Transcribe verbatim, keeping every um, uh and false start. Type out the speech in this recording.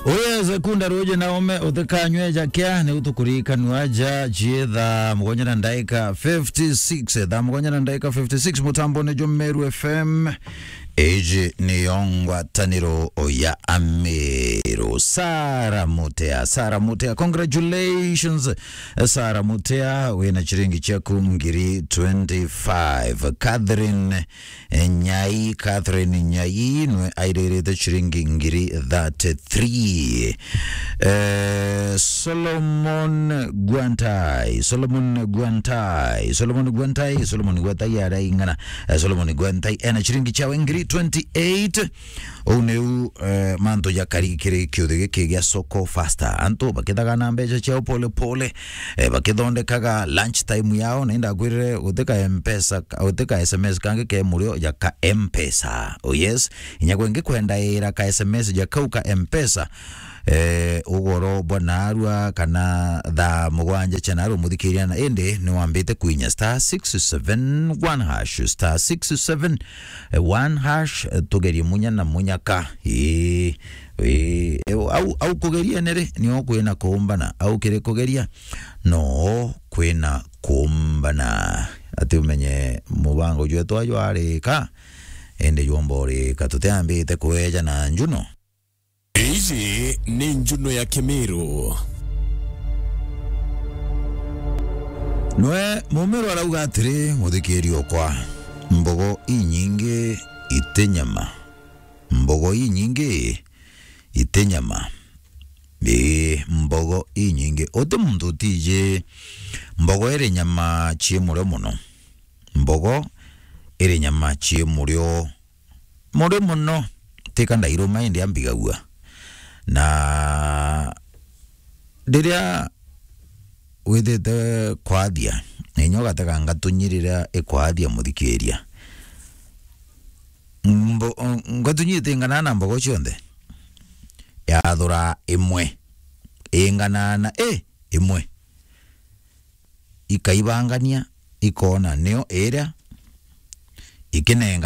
Uye sekunda ruje na ume utikanywe ja kia, ni utukurikanua ja cietha mugwanja na ndaika fifty-six, thaa mugwanja na ndaika fifty-six, mutambone jwa Meru F M. Iji niyo ngwataniro ya Ameru. Sara Mutea, Sara Mutea, congratulations. Sara Mutea, wina ciringi ciaku ngiri twenty-five. Catherine Nyai, Catherine Nyai, nwe airirite ciringi ngiri thirty-three. Eh, Solomon Gwantai, Solomon Gwantai, Solomon Gwantai, Solomon Gwantai araing'ana. Eh, Solomon Gwantai ena ciringi ciawe ngiri twenty-eight. Uu niu, eh, mantu jakari kiri kiuthi giki gia Soko Faster. Antu bakithaga na mbeca ciao pole pole, eh, bakithondekaga lunch time yao, na indakwirire gutika M-Pesa, gutika S M S kangi ke murio ja ka M-Pesa. Oh yes, inya gwe ngikwenda ira ka S M S ja kau ka M-Pesa, eh, ugoro bwa narua kana thaa mugwanja cia narua muthikiria, na indi ni wambite kuinya star six seven one hash, star six seven one hash, eh, tugerie munya na munyaka. Ii, ii, au, au kugeria nere, nio kwina kuumbana, au kiri kugeria, no kwina kuumbana. Ati umenye mubango jwetu ayo arika, indi jwomba urika, tutiambite kweja na njuno. Iji ni njuno ya Kimiru. Nwe Mumiru arauga atiri, muthikiri okwa, mbogo inyingi iti nyama. Mbogo inyingi iti nyama. Ii, mbogo inyingi. Uti muntu utiji mbogo iri nyama cii murio muno. Mbogo iri nyama cii murio, murio muno. Tika ndairuma indi ambigagua. Na riria withite kwathia, na inya ugatega ngatunyi riria ikwathia muthikiria. Mbo-, ngatunyi itingana na mbogo cionthe. Yathura imwe. Ingana na, i, imwe. Ikaibangania, ikona nio iria, ikinenga